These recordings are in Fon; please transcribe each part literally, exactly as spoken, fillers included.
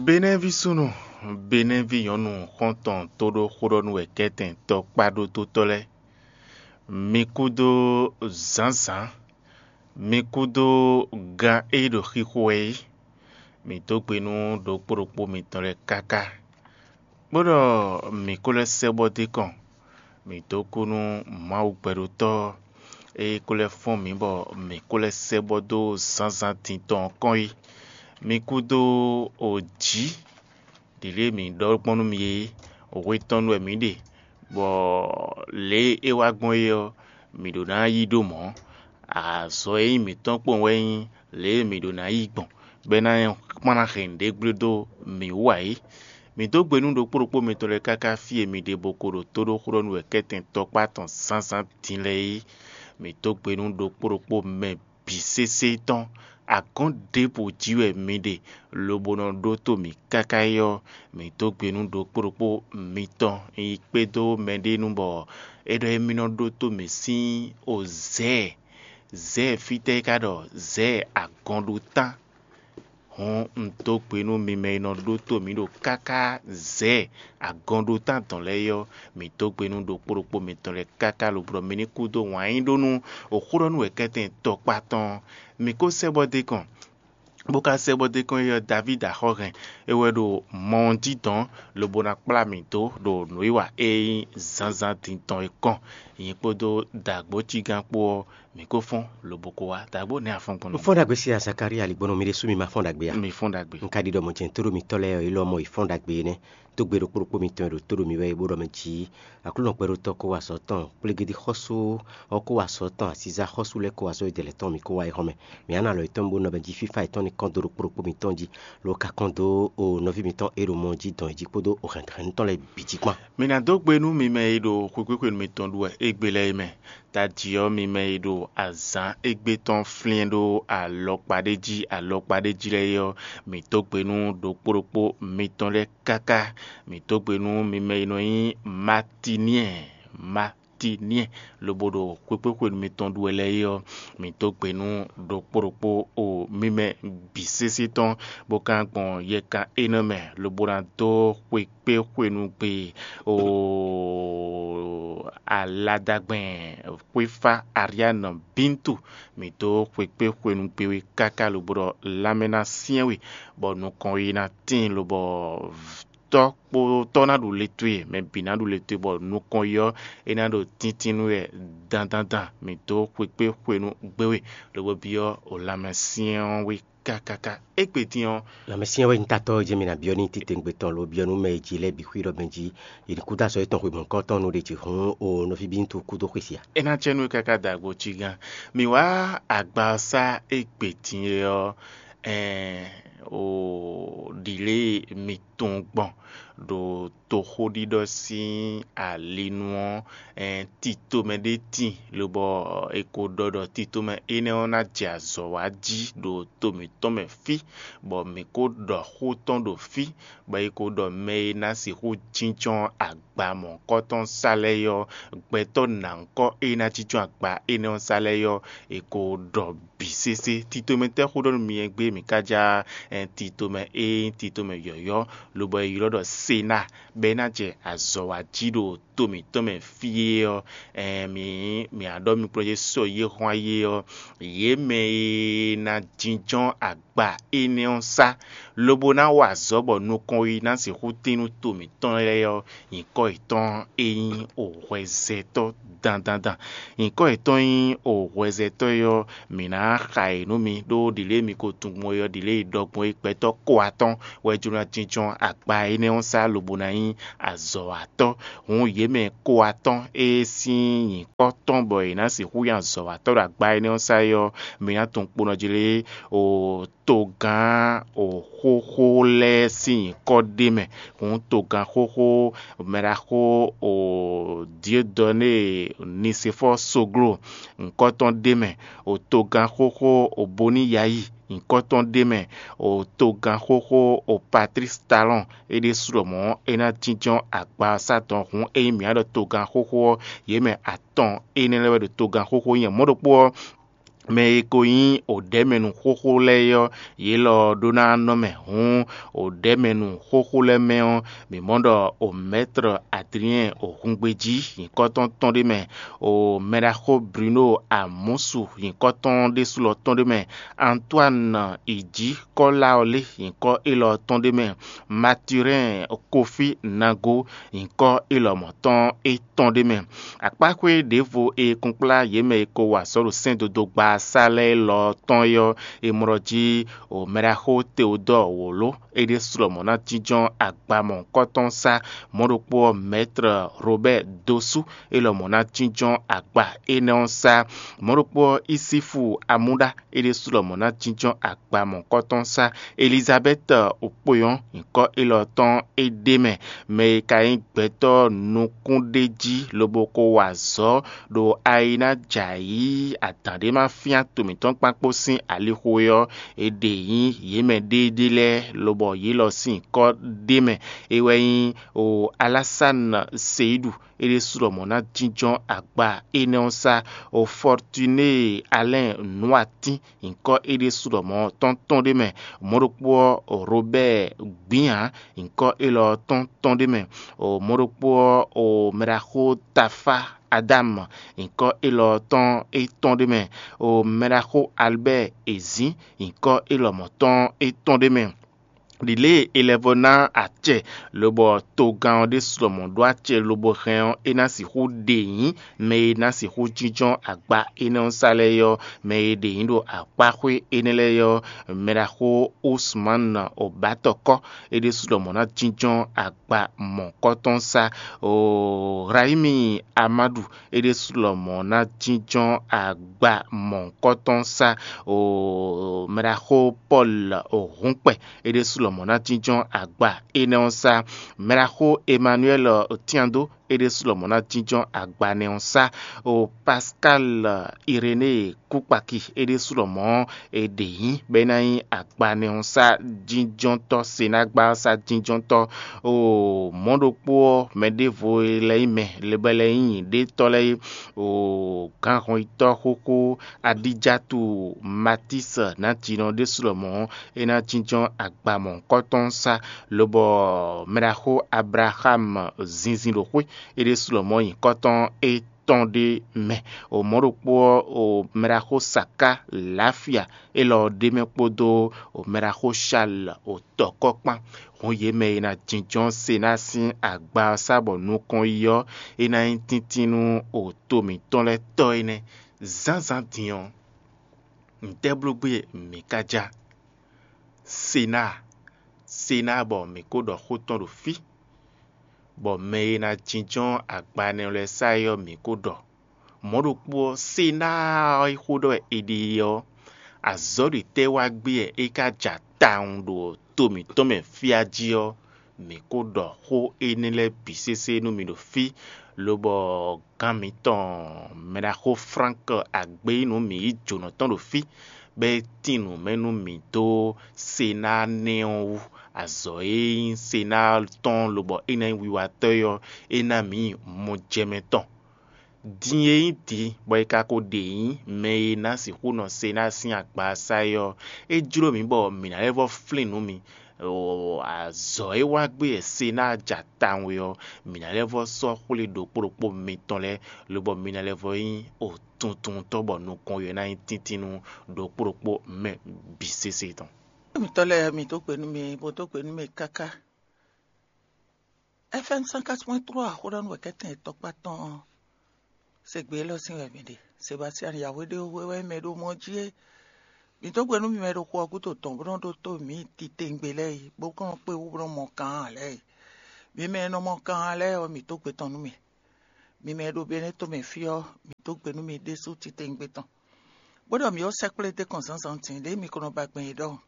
Benɛ́ví súnnu, Benɛ́ví nyɔ̌nu xɔ́ntɔn tóɖó xóɖɔ́núwɛkɛ́tɛn tɔkpá ɖódótɔ́ lɛ́ɛ, mi kúdó zǎnzǎn, mi kúdó gan e ɖo xixo wɛ é, mǐ dó gbe nú ɖokpó ɖokpó mitɔn lɛ́ɛ káká. Kpódɔ mǐ kó lɛ́ sɛ́ bɔ dó kɔn, mǐ dó kú nú Mawu gbɛɖótɔ́ ɔ́, é kó lɛ́ fɔ́n mǐ bɔ mǐ kó lɛ́ sɛ́ bɔ dó zǎnzǎn din tɔn ɔ́ kɔn é. Mi kúdó jǐ ɖě lě mǐ ɖɔ gbɔn nú mi é, hwe tɔn nu wɛ mǐ ɖe, bɔ lě e é wá gbɔn é ɔ́, mǐ ɖó ná yí ɖó mɔ̌. Azɔ̌ e nyí mǐtɔn kpowun wɛ nyí lě e mǐ ɖó ná yí gbɔn, bɔ é ná kplán hɛn nǔɖé gblé dó mǐ wú ǎ é. Mǐ dó gbe nú ɖokpó ɖokpó mitɔn lɛ́ɛ káká fí e mi ɖe bo ko ɖo tóɖóxóɖɔ́núwɛkɛ́tɛn tɔkpá tɔn zǎnzǎn din lɛ́ɛ é. Mǐ dó gbe nú ɖokpó ɖokpó mɛ bǐ sésé tɔn. Agɔ̌n ɖěbǔ jí wɛ mi ɖe, lobo nɔ ɖótó mǐ káká é ɔ́, mǐ dó gbe nú ɖokpó ɖokpó mitɔn yi kpédó mɛɖé nu bɔ é ɖɔ émí nɔ ɖótó mǐ sín ozɛ̌. Zɛ̌ fítɛ́ é ka ɖɔ zɛ̌ agɔnɖótán? Hǔn un dó gbe nú mi mɛ e nɔ ɖótó mǐ ɖo káká zɛ̌ agɔnɖótán dɔn lɛ́ɛ é ɔ́, mǐ dó gbe nú ɖokpó ɖokpó mitɔn lɛ́ɛ káká lobo ɖɔ mi ní kú dó wǎn yí ɖó nú xóɖɔ́núwɛkɛ́tɛn tɔkpá tɔn. Mǐ ko sɛ́ bɔ dó kɔn, bó ka sɛ́ bɔ dó kɔn é ɔ́, Davídi axɔ́ hɛn é wɛ ɖo mɔ ɔ́ jí dɔn, lobo ná kplá mǐ dó ɖo nǔwiwa e nyí zǎnzǎn din tɔn é kɔn. Nyɛ kpódó dǎgbócígán kpó ɔ́, mǐ ko fɔ́n lobo ko wá. Dǎgbó nɛ́ a fɔ́n gbɔn nú Un fɔ́n ɖagbe sí Zakalía ali gbɔn nú mi ɖésú mi ma fɔ́n ɖagbe ǎ. Mi fɔ́n ɖagbe. Un ka ɖi ɖɔ mɔ̌ jɛ́n tóɖó mitɔ́ lɛ́ɛ ɔ́, é lɔ mɔ yi fɔ́n ɖagbe énɛ́. Tó gbe ɖokpó ɖokpó mitɔn e ɖo tóɖó mi wɛ é bó ɖɔ mɛ jí Aklúnɔ gbɛɖótɔ́ kó wá azɔ̌ tɔn, kplégédí xɔ́sú ɔ́ kó wá azɔ̌ tɔn, asízá xɔ́sú lɛ́ɛ kó wá azɔ̌ e dɛ̌ lɛ́ɛ tɔn mi kó wá é hɔn mɛ. Mǐ á ná alɔ yětɔn bó nɔ mɛ jí fífá yětɔn ní kɔn dó ɖokpó ɖokpó mitɔn jí, lo ka kɔn dó o nɔví mitɔn e ɖo mɔ jí dɔn é jí kpódó o hɛ̌nhɛ̌nnu tɔn lɛ́ɛ bǐ jí kpán. Mi ná dó gbe nú mi mɛ e ɖo xwekpéxwenu mitɔn ɖu wɛ égbé lɛ́ɛ é mɛ. Tají ɔ́, mi mɛ e ɖo azǎn égbé tɔn flín ɖó alɔkpa ɖé jí alɔkpa ɖé jí lɛ́ɛ é ɔ́, mǐ dó gbe nú ɖokpó ɖokpó mitɔn lɛ́ɛ káká. Mǐ dó gbe nú mi mɛ e nɔ nyí Matíniɛ, Matíniɛ, lobo ɖo xwekpéxwenu mitɔn ɖu wɛ lɛ́ɛ é ɔ́, mǐ dó gbe nú ɖokpó ɖokpó o mi mɛ bǐ sésé tɔn, bó ka gbɔn yɛkan énɛ́ mɛ, lobo ná dó xwekpéxwenu gbe o aladagbɛn xwéfá Ariánu Bíntu. Mǐ dó xwekpéxwenu gbe we káká lobo ɖɔ lanmɛ ná syɛ́n we, bɔ nukɔn yi ná tíin lobɔ tɔ́ kpó tɔ́ ná ɖu le towe, mɛ bǐ ná ɖu le towe, bɔ nukɔn yi ɔ́, é ná ɖo tíntín nú wɛ dandandan. Mǐ dó xwekpéxwenu gbe we, lobo byɔ́ o lanmɛ syɛ́n ɔ́ we kákáká. Égbé din ɔ́, Lanmɛsyɛn wɛ nyí tatɔ́ e jɛ́n mi ná byɔ́ n'i titewungbe tɔn lo byɔ́ nú mɛ e ji lɛ́ɛ bǐ xwí ɖɔ mɛ jí è nǐ kú dó azɔ̌ yětɔn xwebǐ kɔ́tɔn nú ɖě jǐ hǔn o nɔví bí ŋutu kúdó xwé se a? É ná jɛ nú we káká dǎgbó cí gán. Mǐ wá agba ɔ́ sá égbé din e ɔ́, ɛɛn, o ɖǐlée mi tunwun gbɔn ɖo toxóɖiɖɔ sín ali nu ɔ́, ɛɛn, titomɛ ɖé tin, lobɔ è ko ɖɔ ɖɔ titomɛ énɛ́ ɔ́ ná jɛ azɔ̌ wa jí ɖo to mǐtɔn mɛ fí, bɔ mǐ ko ɖɔ xó tɔn ɖo fí, bɔ è ko ɖɔ mɛ e ná sixú jínjɔ́n agba mɔ̌hunkɔtɔn sá lɛ́ɛ é ɔ́, gbɛtɔ́ nǎnkɔ e ná jínjɔ́n agba énɛ́ ɔ́ sá lɛ́ɛ é ɔ́, è ko ɖɔ bǐ sésé. Titomɛ tɛ́ xó ɖɔ nú mi e gbé mǐ ka já, ɛɛn, titomɛ e nyí titomɛ yɔ̌yɔ́, lobɔ è ylɔ́ ɖɔ Sená, bɔ é ná jɛ azɔ̌ wa jí ɖo to mǐtɔn mɛ fí é ɔ́, ɛɛn, mǐ mǐ á ɖɔ mi kplɔ́n yě sɔ yě hɔn ayé ɔ́, yě mɛ e ná jínjɔ́n agba énɛ́ ɔ́ sá, lobo ná wa azɔ̌ bɔ nukɔn e ná sixú tín nú to mǐtɔn lɛ́ɛ ɔ́, nyǐkɔ yětɔn é nyí o hwɛzɛtɔ́ dandandan. Nyǐkɔ yětɔn nyí o hwɛzɛtɔ́ é ɔ́, mǐ ná xa yě nú mi, ɖó ɖǐlée mi ko tunwun gbɔn é ɔ́, ɖǐlée e ɖɔ gbɔn é gbɛtɔ́ ko atɔ́ɔ́n wɛ jló ná jínjɔ́n agba énɛ́ ɔ́ sá lobo ná nyí azɔ̌watɔ́. Hǔn yě mɛ ko atɔ́ɔ́n e sín nyǐkɔ tɔn bɔ è nǎ sixú nyí azɔ̌watɔ́ ɖo agba énɛ́ ɔ́ sá é ɔ́, mi ná tunwun kpo nɔ jlé o togán o xóxó lɛ́ɛ sín nyǐkɔ ɖ'é mɛ. Hǔn togán xóxó mɛɖaxó o Diodɔnée Nisefɔ́ɔ Soglo, nyǐkɔ tɔn ɖ'é mɛ, o togán xóxó o Boniyayi, nyǐkɔ tɔn ɖ'é mɛ, o togán xóxó o Patlísi Talɔ́ɔn. É ɖésú ɖɔ mɔ̌ é ná jínjɔ́n agba ɔ́ sá dɔn. Hǔn ényí mǐ ná ɖɔ togán xóxó ɔ́, yě mɛ atɔn énɛ́ lɛ́ɛ wɛ ɖo togán xóxó nyí. Mɔ̌ ɖokpó ɔ́, mɛ e ko nyí odɛ̌mɛnu xóxó lɛ́ɛ ɔ́, yě lɔ ɖó ná nɔ mɛ. Hǔn odɛ̌mɛnu xóxó lɛ́ɛ mɛ ɔ́, mǐ mɔ ɖɔ o mɛ̌tre Adriɛn o hungbejí nyǐkɔ tɔn tɔn ɖé mɛ, o mɛɖaxó Bruno Amusu nyǐkɔ tɔn ɖésú lɔ tɔn ɖé mɛ, Antoine Ijǐ Kɔ́láɔlé nyǐkɔ élɔ́ tɔn ɖé mɛ, Mathurin Kofi Nago nyǐkɔ élɔ́ mɔ̌ tɔn é tɔn ɖé mɛ. Akpáxwé ɖěvo e kunkplá yě mɛ e ko wa azɔ̌ ɖo sɛ́ndodogba sá lɛ́ɛ lɔ tɔn é ɔ́, è mlɔ jí o mɛɖaxó Teodɔ́ɔ wǒló é ɖésú lɔmɔ̌ ná jínjɔ́n agba mɔ̌hunkɔtɔn sá. Mɔ̌ ɖokpó ɔ́, mɛ̌tre Robɛ́ɛ Dosú é lɔmɔ̌ ná jínjɔ́n agba énɛ́ ɔ́ sá. Mɔ̌ ɖokpó ɔ́, Isífu Amúɖá é ɖésú lɔmɔ̌ ná jínjɔ́n agba mɔ̌hunkɔtɔn sá. Elizabɛ́ti Okpóyɔ́n nyǐkɔ élɔ́ tɔn é ɖ'é mɛ, mɛ e ka nyí gbɛtɔ́ nukúnɖéjí lobo ko wa azɔ̌ ɖo ayi ná jɛ ayǐ adǎn ɖé ma fyán to mǐtɔn kpán kpó sín alixo é ɔ́, è ɖe nyí yě mɛ ɖéeɖée lɛ́ɛ, lobɔ yě lɔ sín nyǐkɔ ɖ'é mɛ. É wɛ nyí o Alásán Seyiɖu é ɖésú lɔmɔ̌ ná jínjɔ́n agba énɛ́ ɔ́ sá. O Fɔtuné Alɛ́n Nǔatín nyǐkɔ é ɖésú lɔmɔ̌ tɔn tɔn ɖé mɛ. Mɔ̌ ɖokpó ɔ́, Robɛ́ɛ Gbǐhan nyǐkɔ élɔ́ tɔn tɔn ɖé mɛ. O mɔ̌ ɖokpó ɔ́, o mɛɖaxó Tafá Adámu nyǐkɔ élɔ́ tɔn é tɔn ɖé mɛ. O mɛɖaxó Albɛ́ɛ Ezǐn nyǐkɔ élɔ́ mɔ̌ tɔn é tɔn ɖé mɛ. Ɖi lě e è lɛ́ vɔ ná acɛ, lobɔ togán ɔ́ ɖésú lɔmɔ̌ ɖó acɛ lobo hɛn ɔ́, é ná sixú ɖe nyǐ mɛ e ná sixú jínjɔ́n agba énɛ́ ɔ́ sá lɛ́ɛ é ɔ́, mɛ e ɖe nyǐ ɖo akpáxwé énɛ́ lɛ́ɛ é ɔ́, mɛɖaxó Usman Obatɔkɔ é ɖésú lɔmɔ̌ ná jínjɔ́n agba mɔ̌hunkɔtɔn sá. O Rahimi Amadu é ɖésú lɔmɔ̌ ná jínjɔ́n agba mɔ̌hunkɔtɔn sá. O mɛɖaxó Pɔ́lu Hǔnkpɛ é ɖésú lɔmɔ̌ ná jínjɔ́n agba énɛ́ ɔ́ sá. Mɛɖaxó Emmanuel Otiando é ɖésú lɔmɔ̌ ná jínjɔ́n agba nɛ́ ɔ́ sá. O Pascal Iréné Kúkpaki é ɖésú lɔmɔ̌ è ɖe nyǐ bɔ é ná nyí agbanɛ́ ɔ́ sá jínjɔ́ntɔ́, senágbá ɔ́ sá jínjɔ́ntɔ́. O mɔ̌ ɖokpó ɔ́, mɛ ɖěvo e lɛ́ nyí mɛ, bɔ é lɛ́ nyí nyǐɖétɔ́ lɛ́ɛ é, o gǎnhɔnyitɔ́ xóxó Adíjatu Matísi ná jinɔ ɖésú lɔmɔ̌ é ná jínjɔ́n agba mɔ̌hunkɔtɔn sá, lobɔ mɛɖaxó Ablaxámu zinzin ɖo xwé é ɖésú lɔmɔ̌ nyǐkɔ tɔn é tɔn ɖé mɛ. O mɔ̌ ɖokpó ɔ́, o mɛɖaxó Saká Lafia élɔ́ ɖ'é mɛ kpódó o mɛɖaxó Shal o tɔ̌kɔ́ kpán. Hǔn yě mɛ e ná jínjɔ́n Sená sín agba ɔ́ sá bɔ nukɔn yi ɔ́, é ná nyí tíntín nú o to mǐtɔn lɛ́ɛ tɔ́ énɛ́. Zǎnzǎn din ɔ́, ntɛ́ bló gbé mǐ ka já? Sená, Sená bɔ mǐ ko ɖɔ xó tɔn ɖo fí, bɔ mɛ e ná jínjɔ́n agbanɛ́ lɛ́ɛ sá é ɔ́, mǐ ko ɖɔ. Mɔ̌ ɖokpó ɔ́, Sená ɔ́ e xó ɖɔ wɛ è ɖe é ɔ́, azɔ̌ ɖě tɛ́ wá gbé wɛ é ka ja tawun ɖo to mǐtɔn mɛ fí a jí ɔ́, mǐ ko ɖɔ xó énɛ́ lɛ́ɛ bǐ sésé nú mi ɖo fí, lobɔ gǎn mǐtɔn mɛɖaxó Flánk Agbeyínu mǐ yí jǒnɔ tɔn ɖo fí, bɔ é tín nǔ mɛ nú mǐ dó Sená nɛ́ ɔ́ wú. Azɔ̌ e nyí Sená tɔn lobɔ é ná nyí wiwatɔ́ é ɔ́, é ná mǐ mɔjɛmɛ tɔn. Din e nyí din bɔ è ka ko ɖe nyǐ mɛ e ná sixú nɔ Sená sín agba sá é ɔ́, é jló mǐ bɔ mǐ ná lɛ́ vɔ́ flín nǔ mi. Azɔ̌ e wá gbé wɛ Sená ja tawun é ɔ́, mǐ ná lɛ́ vɔ́ sɔ́ xwlé ɖokpó ɖokpó mitɔn lɛ́ɛ, lobɔ mi ná lɛ́ vɔ́ nyí otuntuntɔ́ bɔ nukɔn yě ná nyí tíntín nú ɖokpó ɖokpó mɛ bǐ sésé tɔn. Mitɔ́ lɛ́ɛ, mi dó gbe nú mi, bó dó gbe nú mi káká. F M cent quatre point trois, xó ɖɔ nú wɛ̌kɛ́tɛn tɔkpá tɔn ɔ́, se gbe élɔ́ sín wɛ mi ɖe. Sebastian Yahweh ɖe we wɛ mɛ ɖo mɔ jí é. Mi dó gbe nú mi mɛ ɖo xo ɔ́ gúdo tɔn bó nɔ́ ɖótó mǐ titewungbe lɛ́ɛ yi, bó kɔn nɔ kpé wú bó nɔ́ mɔ kaan lɛ́ɛ yi. Mi mɛ e nɔ mɔ kaan lɛ́ɛ ɔ́, mi dó gbe tɔn nú mì. Mi mɛ e ɖo Benɛ́to mɛ fí ɔ́, mi dó gbe nú mi ɖésú titewungbe tɔn, bó ɖɔ mǐ ó sɛkplé dó kɔn zǎnzǎn din ɖěe mi ko nɔ ba gbɛn é ɖɔhun,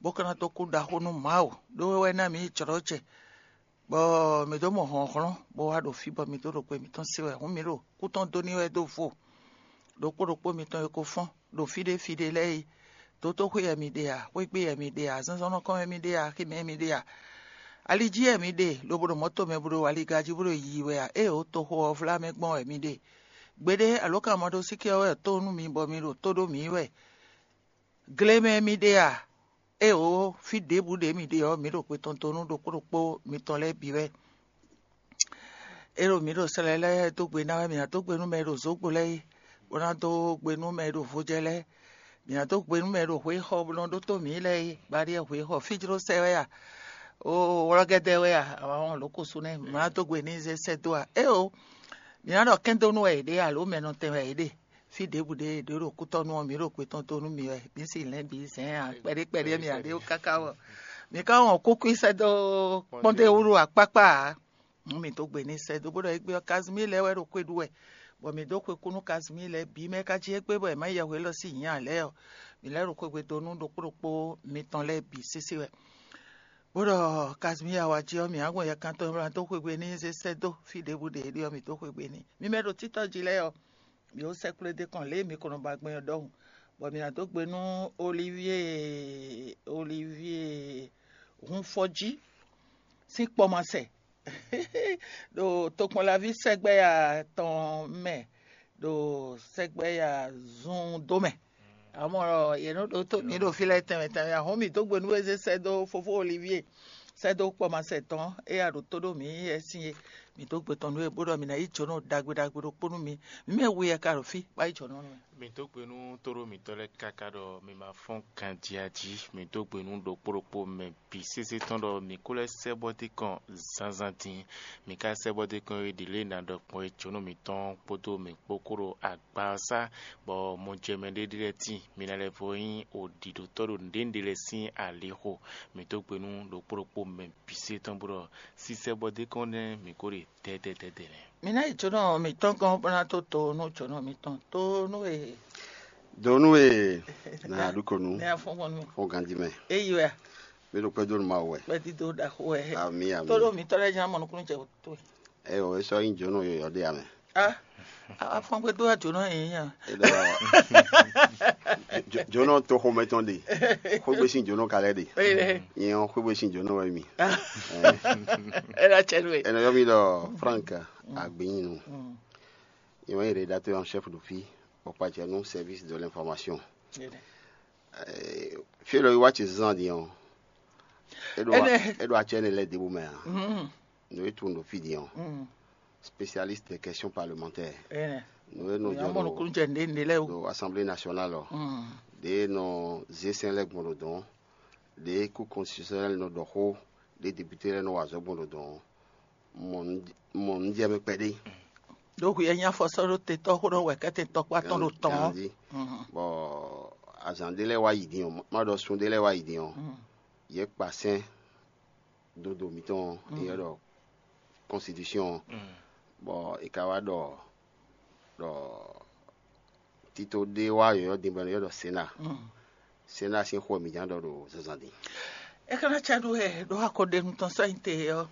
bó ka ná dó kú ɖaxó nú Mawu, ɖó é wɛ ná mǐ yi jlɔ̌ jɛ, bɔ mǐ dó mɔ hlɔ̌nhlɔ́n, bó wá ɖo fí, bɔ mǐ dó ɖo gbe mǐtɔn se wɛ. Hǔn mǐ ɖo kú tɔn dó ní wɛ dó vo ɖokpó ɖokpó mitɔn e ko fɔ́n ɖo fí ɖé fí ɖé lɛ́ɛ é. Dotóxwé wɛ mi ɖe a? Xwégbé wɛ mi ɖe a? Zɔ́nzɔ́nnɔkɔ́n wɛ mi ɖe a? Aximɛ wɛ mi ɖe a? Ali jí wɛ mi ɖe, lobo ɖo mɔ̌to mɛ bó ɖo aliga jí bó ɖo yiyi wɛ a? Ée wǒ toxo ɔ́ vlá mɛ gbɔn wɛ mi ɖe? Gbeɖé alǒkanmaɖósíké ɔ́ wɛ tó nú mi bɔ mi ɖo tó ɖó mǐ wɛ. Gle mɛ mi ɖe a? Éeǒ, fí ɖěbǔ ɖě mi ɖe ɔ́, mǐ ɖo xwe tɔn dó nú ɖokpó ɖokpó mitɔn lɛ́ɛ bǐ wɛ. É ɖo mǐ ɖo slɛ lɛ́ɛ dó gbe ná wɛ, mǐ ná dó gbe nú mɛ e ɖo zǒgbo lɛ́ɛ é, bó ná dó gbe nú mɛ e ɖo vojɛ lɛ́ɛ. Mǐ ná dó gbe nú mɛ e ɖo hweyíxɔ bó nɔ ɖótó mǐ lɛ́ɛ é, baɖíɛ hweyíxɔ fí jló sɛ wɛ a? Oo, wlɔ́gɛ́dɛ́ wɛ a? Awǎ wɔn lǒ kúsú nɛ́, mǐ ná dó gbe n'i zé sɛ́ dó a? Éeǒ, mǐ ná ɖɔ kɛ́ndónú wɛ yě ɖe alo mɛnɔtɛn wɛ yě ɖe. Fí ɖěbǔ ɖé ɖě ɖo kútɔ́nú ɔ́, mǐ ɖo kwe tɔn dó nú mi wɛ, mǐ si lɛ̌n bǐ zɛ̌n ǎ, kpɛɖé kpɛɖé mì ǎ ɖé káká wɔ. Mǐ ka wɔn kúkú sɛ́ dó kpɔ́ndéwúɖu akpákpá ǎ. Nú mǐ dó gbe n'i sɛ́ dó bó ɖɔ égbé ɔ́, Kazimíi lɛ́ɛ wɛ ɖo xwe ɖu wɛ, bɔ mǐ dó xwe kú nú Kazimíi lɛ́ɛ bǐ mɛ ka jí égbé bɔ è mǎ yi yɛhwe élɔ́ sín nyǐ ǎ lɛ́ɛ ɔ́, mǐ lɛ́ ɖo xwegbe dó nú ɖokpó ɖokpó mitɔn lɛ́ɛ bǐ sésé wɛ. Bó ɖɔ Kazimíi awa jí ɔ́, mǐ á gbɔn yɛkan tɔn e wlán dó xwegbe n'i zé sɛ́ dó fí ɖěbǔ ɖě é ɖe ɔ́, mǐ dó xwegbe n'i. Mi mɛ ɖo títɔ́ jí lɛ́ɛ ɔ́, mǐ ó sɛ́ kplé dó kɔn lě e mǐ ko nɔ ba gbɛn ɔ́ ɖɔhun, bɔ mǐ ná dó gbe nú Olivíe Olivíe Hunfɔjí sín kpɔmasɛ ɖo tokpɔnlaví sɛgbɛ́ya tɔn mɛ, ɖo sɛgbɛ́ya zun dó mɛ. Amɔ̌ yě nɔ ɖó tó mǐ ɖo fí lɛ́ɛ tɛnmɛ tɛnmɛ, ahɔ̌n mǐ dó gbe nú we zé sɛ́ dó fofó Olivíe, sɛ́ dó kpɔmasɛ tɔn e a ɖo tó ɖó mǐ é sin é. Mǐ dó gbe tɔn nú we bó ɖɔ mǐ ná yí jǒnɔ ɖagbe ɖagbe ɖokpó nú mi. Mǐ mɛ we wɛ ka ɖo fí bó ná yí jǒnɔ nú we. Mi dó gbe nú tóɖó mǐtɔn lɛ́ɛ káká ɖɔ mi ma fɔ́n ganjí jí. Mi dó gbe nú ɖokpó ɖokpó mɛ bǐ sésé tɔn ɖɔ mǐ kó lɛ́ sɛ́ bɔ dé kɔn zǎnzǎn din. Mi ka sɛ́ bɔ dé kɔn e ɖi lě e nǎ ɖɔ gbɔn é jǒnɔ mǐtɔn kpódó mǐ kpó kó ɖo agba ɔ́ sá, bɔ mɔjɛmɛ ɖé ɖé lɛ́ɛ tíin. Mi ná lɛ́ vɔ nyí oɖiɖotɔ́ ɖo nǔɖénúɖé lɛ́ɛ sín alixo. Mi dó gbe nú ɖokpó ɖokpó mɛ bǐ sésé tɔn bó ɖɔ sísɛ́ bɔ dé kɔn nɛ́ mǐ kó ɖe dɛdɛdɛdɛ nɛ́. Mi ná yi jǒnɔ mǐtɔn gɔ́n bó ná tó to nú jǒnɔ mǐtɔn tó nú e. Do nú e na ɖu ko nu. Ne afɔn gbɔn nú. Fɔn ganji mɛ. Eyi wɛ. Mi ɖo kpɛdo nú Mawu wɛ. Kpɛdido ɖaxo wɛ. Ami ami. Tó ɖo mǐtɔn lɛ́ɛ ján mɔ nukúnnú jɛ tó. Ɛ o, e sɔ nyi jǒnɔ yɔyɔ ɖe amɛ. Ah, afɔn gbé dó wá jǒnɔ yìí yàn. E ɖɔ jo- jǒnɔ to xomɛ tɔn ɖe. Xwégbe sín jǒnɔ ka lɛ ɖe. Nyɛ ɔ́ xwégbe sín jǒnɔ wɛ mi. Ɛ ɖo atsɛ nú ɛ. Ɛnɛ yɔ mi ɖɔ Frank Agbinyi nu. Nyɛ wɛ rédacteur en chef de fi ɔkpacɛ nú service de l'information. Fí élɔ́ yi wá ce zán din ɔ́, é ɖo Ɛnɛ. É ɖo atsɛ énɛ́ lɛ́ɛ ɖěbǔ mɛ ǎ. Nǔ e tunwun ɖo fí din ɔ́, spécialiste des questions parlementaires. Ɛnɛ. Nǔ e nɔ jɔ Amɔnukun jɛ nɖé nɖé lɛ́ɛ o. Ɖo assemblée nationale ɔ́, ɖě e nɔ zé sɛn lɛ́ɛ gbɔn ɖo dɔ̌n, ɖě kú constitutionnel nɔ ɖɔ xó, ɖě député lɛ́ɛ nɔ wa azɔ̌ gbɔn ɖo dɔ̌n ɔ́, mɔ nǔ jɛ mɛ kpɛɖé. Ɖó hwi e nyí afɔsɔ́ ɖó te tɔ́ xó ɖɔ wɛ kɛ́tɛn tɔkpá tɔn ɖo tɔn ɔ́. Ganji. Bɔ azǎn ɖé lɛ́ɛ wá yi din ɔ́, má ɖɔ sun ɖé lɛ́ɛ wá yi din ɔ́, yě kpa sɛ́n dodo mǐtɔn ɔ́, é nyɔ́ ɖɔ constitution ɔ́, bɔ è ka wá ɖɔ ɖɔ tito ɖé wá yɔ̌yɔ́ din bɔ è nɔ ylɔ́ ɖɔ sénat. Sénat sín xó wɛ mǐ ján ɖɔ ɖo zǎnzǎn din. É ka ná cá ɖó wɛ ɖó akɔɖenu tɔn sɔ́ nyi te ɔ́.